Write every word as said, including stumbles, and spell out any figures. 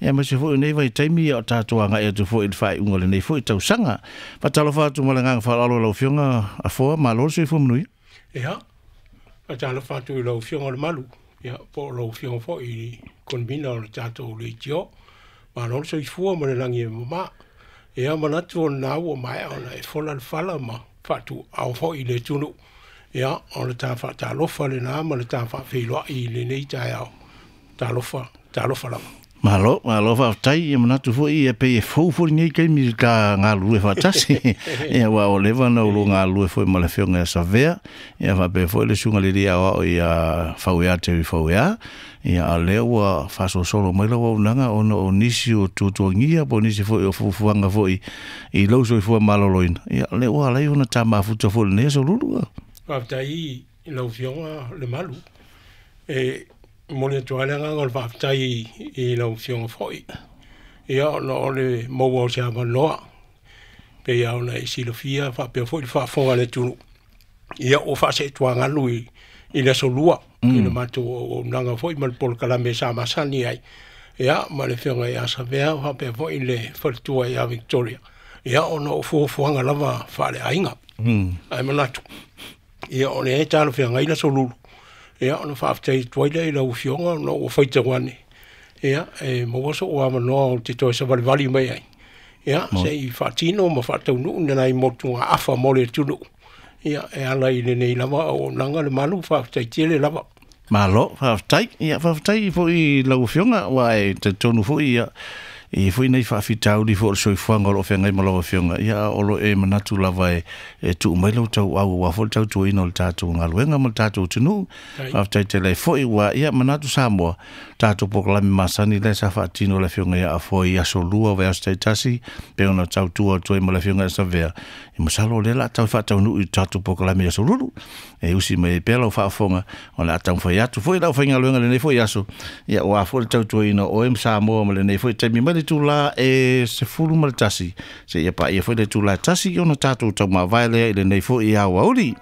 Ia ma se foi nei vai taimi o tātou anga e atu foi i le faaiuga o lenei foi tausaga. Faatalofa atu ma le agaga faaaloalo i lau Afioga Afoa, malo le soifua manuia. Ia, faatalofa atu i lau Afioga Lemalu, ia, po o lau Afioga foi i le convener o le tatou leitio. Malo le soifua ma le lagi e mama. Ia, manatu o lena ua maea ona e fola le fala ma faatuau foi i le atunuu. Ia, o le ta faatalofa lena ma le ta faafeiloai i lenei taeao. Talofa, talofa lava. Malo, malo faafetai. Ia manatu foi ia pei e fou foi lenei taimi i ta galulue faatasi. Ia aua ua leva ona ou galulue foi ma le Afioga ia Savea, ia faapea foi le Susuga i le Alii Aoao ia Fauea Terry Fauea. Ia a o lea ua faasolosolo mai lau auaunaga ona o nisi o tuatuagia po o nisi foi o fuafuaga foi i lou soifua maloloina. Ia o lea ua ala ai ona ta mafuta foi i lenei aso Lulu. Faafetai i lau Afioga Lemalu. E momoli atu lava le agaga o le faafetai i lau Afioga foi. Ia, ona o le maua o se avanoa, pei lava ona e silafia faapea foi le faafofoga a le atunuu. Ia, ua faaseetuagalu i, i le aso Lua mm. i le matou auaunaga foi ma le polokalame sa masani ai. Ia, ma le Afioga ia Savea faapea foi le faletua ia Victoria. Ia, ona o fuafuaga lava faaleaiga. Mm. Ae manatu, ia, o lea e talafeagai le aso Lulu. Ia, ona faafetai atu ai lea i lau Afioga ona ua faitau ane. Ia, e maua sou avanoa ou te toe savalivali mai ai. Ia, se i faatino ma faataunuu nai motugaafa mo le atunuu. Ia, e ala i lenei lava auaunaga Lemalu, faafetai tele lava. Malo, faafetai. Ia, faafetai foi i lau Afioga, aua e talitonu foi ia, e i ai foi nai faafitauli foi o le soifuaga o lo o feagai ma lau Afioga, ia, a o lo o e manatu lava e, e tuu mai lau tauau aua foi le tautuaina o le tatou galuega ma le tatou atunuu. Faafetai tele ai foi ua, ia, manatu Samoa, tatou polokalame masani lea sa faatino e le Afioga ia Afoa i aso lua, vaiaso taitasi, pei ona tautua atu ai ma le Afioga ia Savea. E masalo o lea o le a tau faataunuu i le tatou polokalame i aso Lulu. E usi mai ai pea lau faafofoga, o le a taumafai atu foi le aufaigaluega i lenei foi aso, ia aua foi le tautuaina o oe ma Samoa ma lenei foi taimi mai le itula e sefulu ma le tasi seia paia foi le itula e tasi ona tatou taumavae lea i lenei foi aoauli.